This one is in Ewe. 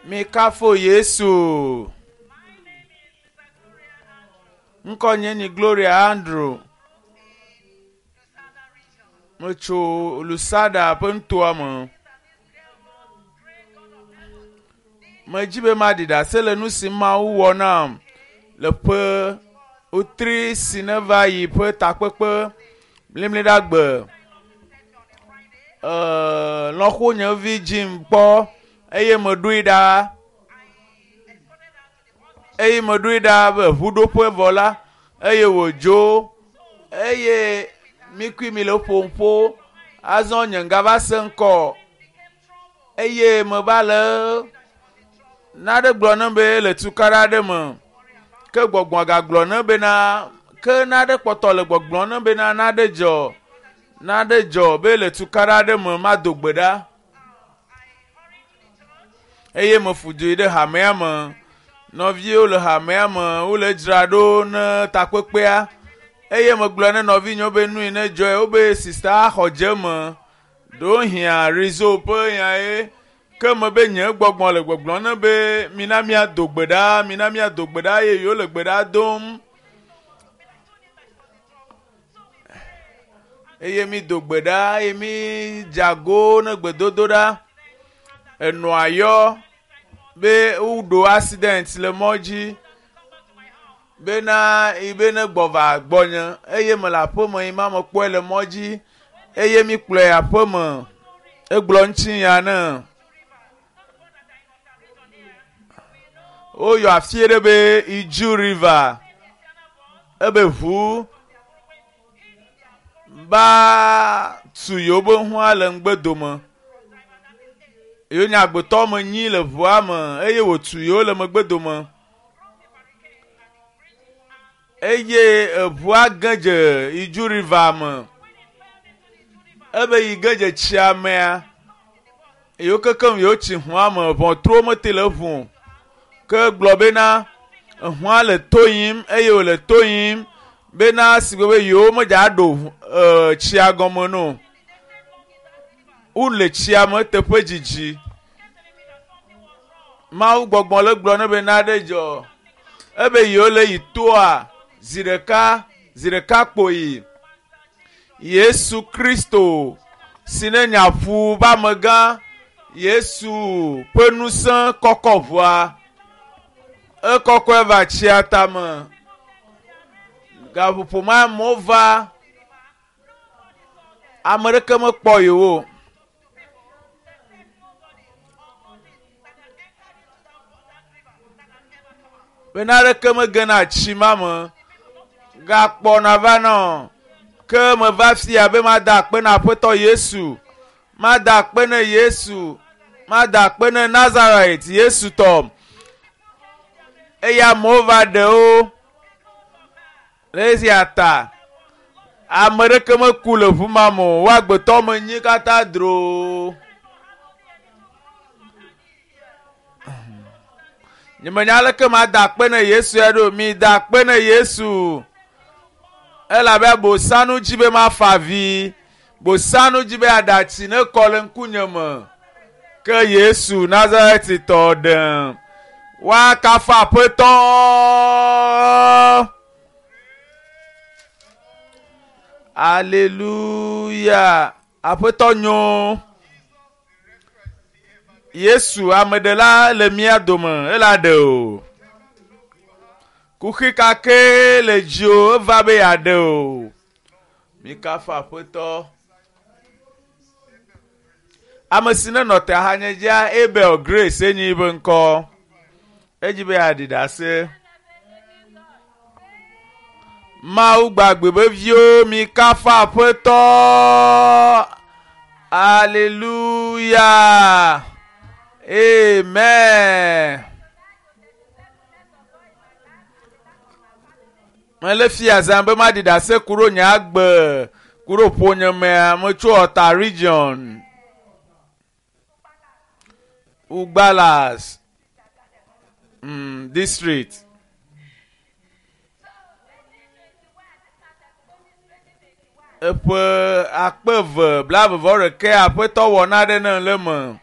Mikafo Yesu. Ŋkɔ nye ni Gloria Andrew. Metso Lusada ƒe nutoa me. Medzi be maɖi ɖase le nu si Mawu wɔ nam le ƒe wotri si neva yi ƒe takpekpe mlimliɖagbe. Eee lɔ̃xonye vi dzim kpɔ eye meɖoe ɖa eye meɖoe ɖa be ʋuɖoƒe vɔ la eye wòdzo eye mi kui mi le ƒom ƒo azɔ nye ŋgava se ŋkɔ eye meva le naɖe gblɔ nam be le tukaɖa aɖe me ke gbɔgbɔ gagblɔ nam bena ke naɖe kpɔtɔ le gbɔgblɔm nam bena naɖe dzɔ naɖe dzɔ be le tukaɖa aɖe me mado gbe ɖa eye mefu du yi ɖe hamea me nɔviwo le hamea me wole dzra ɖo ne takpekpea eye megblɔ ne nɔvinyewo be nu yi ne dzɔe wobe sista xɔ dze me ɖewohĩa rizo ƒe nya ye ke me be nye gbɔgbɔ le gbɔgblɔm ne be mina míado gbe ɖa mina míado gbe ɖa eye yewo le gbe ɖa dom eye mi do gbe ɖa eye mi dze ago ne gbedodo ɖa enɔa yɔ be woɖo accident le mɔ dzi bena yi be ne gbɔ va gbɔnye eye mele aƒeme yi ma mekpɔe le mɔ dzi eye mi kplɔe aƒeme egblɔ ŋutinya ne woyɔ afi ɖe be Iju River ebe ʋu ba tu yewo be hũa le ŋgbedome yewo nye agbetɔ me nyi le ʋua me eye wòtu yewo le megbedome eye eʋua ge dze Iju River me ebe yi ge dze tsia mea yewo kekem yewo tsi hũa me ʋɔtruwo mete le eŋu o ke gblɔ bena ehũa le to yim eye wòle to yim bena si gbe be yewo medza ɖo e tsia gɔme no wole tsia me teƒe dzidzi Mawu gbɔgbɔ le gblɔ ne be naɖe dzɔ ebe yewo le yi toa zi ɖeka zi ɖeka kpoyi Yesu Kristo si ne nya ƒu be amegã Yesu ƒe ŋusẽ kɔkɔ ʋua ekɔkɔe va tsia tame gaƒoƒo ma amewo va ame ɖeke mekpɔ yewo o. Bena aɖeke megena tsi ma me gakpɔna va nɔ ke meva fia be mada akpe na Aƒetɔ Yesu mada akpe ne Yesu mada akpe ne Nazareth Yesu tɔ eye amewo va ɖe wo le esia ta ame ɖeke meku le ʋu ma me o wo agbetɔ me nyi katã dro nyemenya aleke mada akpe ne Yesu ya ɖo mi da akpe ne Yesu elabe bosanu dzi be mafa avi bosanu dzi be aɖatsi ne kɔ le ŋkunye me ke Yesu Nazaretitɔ ɖem woakafu Aƒetɔ. Aleluya Aƒetɔ nyo. Yesu ameɖela le mía dome ela ɖe o. Kuxi ka ke le dziwò eva be yeaɖe o. Mikafu Aƒetɔ. Ame si nenɔ te ahanye dzia Abel Grace enyi yiƒe ŋkɔ. Edzi be yeaɖi ɖase. Mawu gbagbe be viwo mikafu Aƒetɔ. Aleluya. Amen. Mele fia zã be maɖi ɖase ku ɖo nye agbe ku ɖo ƒonyemea metso Ɔta region. Ugbalas mm, district. Eƒe akpe eve blaeve vɔ ɖekɛ aƒetɔ wɔ naɖe ne le me.